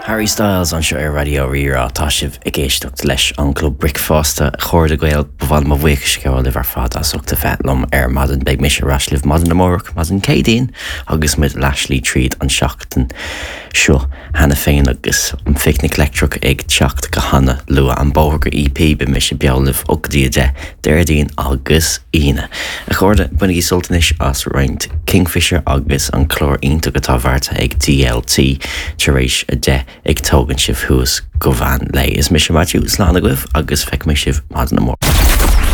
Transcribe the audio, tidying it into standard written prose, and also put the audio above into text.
Harry Styles anseo ar Raidió Rí-Rá. Tá sibh ag éisteacht leis an gClub Bricfeasta. A chairde Gael, ba mhaith liom mo bhuíochas a ghabháil libh ar fad as ucht a bheith liom ar maidin. Beidh mise ar ais libh maidin amárach, maidin Céadaoin, agus muid leathshlí tríd an seachtain seo cheana féin agus an Phicnic Leictreach ag teacht go hana luath. An bóthar go EP, beidh mise beo libh ó go dtí 10 Déardaoin agus Aoine. A chairde, bainigí sult anois as roinnt Kingfisher agus an clár iontach atá beartaithe ag DLT tar éis 10 ag tógaint sibh thuas go mheán lae. Is mise Maitiú, slán agaibh agus feicfidh mé sibh maidin amárach.